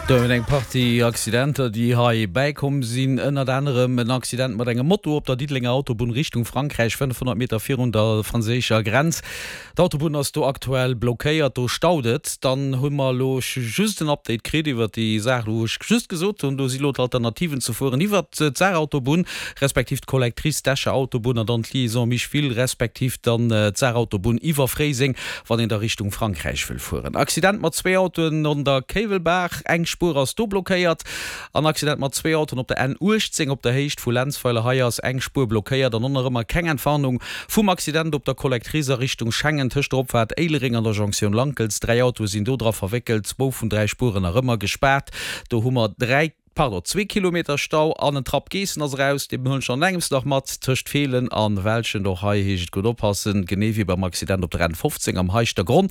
Do hunn eng Partie Accidenter, déi hei bäikomm sinn. Ënnert anerem en Accident mat engem Moto op der Diddelenger Autobunn Richtung Frankräich, 500 Meter virun der franséischer Grenz. D'Autobunn ass do aktuell blockéiert, do staut et. Dann hu mer elo just en Update kritt iwwert déi Saach, wou ech just gesot hunn, do si elo d'Alternativen ze fueren iwwert d'Saarautobunn, respektiv d'Collectrice d'Escher Autobunn an dann d'Liaison Micheville, respektiv dann d'Saarautobunn iwwer Fréiseng, wann een da Richtung Frankräich wëll fueren. Accident mat zwee Autoen an der Kéiwelbaach, eng Spuer ass do blockéiert. An Accident mat zwee Autoen op der N 18 op der Héicht vu Lenzweiler, hei ass eng Spuer blockéiert an och nach ëmmer keng Entwarnung vum Accident op der Collectrice a Richtung Schengen tëscht der Opfaart Éilereng an der Jonktioun Lankels. Dräi Autoe sinn do dra verwéckelt, zwou vun dräi Spueren nach ëmmer gespaart. Do hu mer dräi, pardon, zwee Kilometer Stau an en Trapp Geessen ass eraus, dee huelen ech an engems nach mat, tëscht Feelen a Welschent. Och hei heescht et gutt oppassen, genee wéi beim Accident op der N 15 am Heischtergronn.